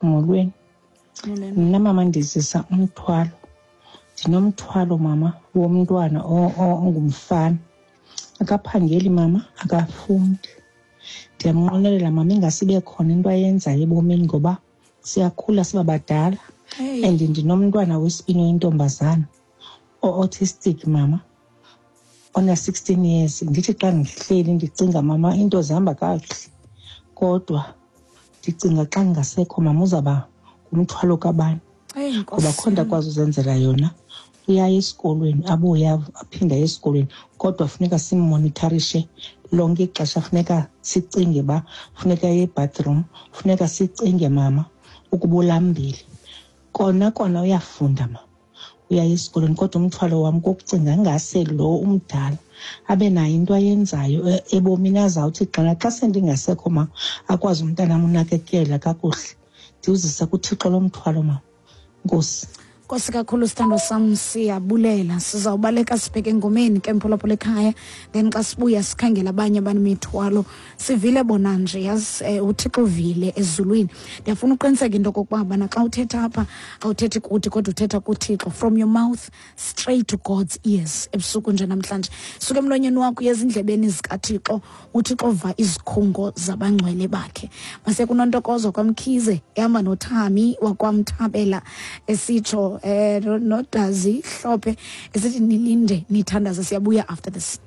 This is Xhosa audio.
Molweni. Mna mama ndizisa umthwalo. Ndinomthwalo mama womntwana ongumfana. Akaphangeli mama, akafundi. Ndiyamnqwenelela mama ingase ibe khona into ayenzayo ebomini ngoba siyakhula siba badala. And ndinomntwana wesibini oyintombazana o-autistic mama ona-16 years. Ndithi xa ndihleli ndicinga mama into zihamba kakuhle, kodwa ndicinga xa ndingasekho mama uzawuba ngumthwalo kabani, ngoba kho nto akwazi uzenzela yona. Uyaya esikolweni abuye aphinde aye esikolweni, kodwa funeka simmonitharishe lonke ixesha. Funeka sicinge uba funeka aye ebathroom, funeka sicinge mama ukuba ulambile. Kona kona uyafunda mama, uyaya esikolweni, kodwa umthwalo wam kokucinga ngase lo umdala abe nayo into ayenzayo ebomini, azawuthi xana xa sendingasekho ma akwazi umntanam unakekela kakuhle. Ndiwuzisa kuThixo lo mthwalo mama. Nkosi. Nkosi kakhulu sithandwa sam, siyabulela. Sizawubaleka sibheke engomeni ke mphulaphula ekhaya, then xa sibuya sikhangela abanye abanemithwalo. Sivile bona nje, yazi, uThixo uvile ezulwini. Ndiyafuna uqiniseka into okokuba bana xa uthetha apha awuthethi kuthi, kodwa uthetha kuThixo. From your mouth straight to God's ears. Ebusuku nje namhlanje suka emlonyeni wakho uye ezindlebeni zikaThixo. UThixo va izikhungo zabangcwele bakhe. Mase kuNontokozo kwaMkhize ehamba noThami wakwamthabela esitsho, noDazi Hlophe esithi nilinde nithandaze. Siyabuya after this.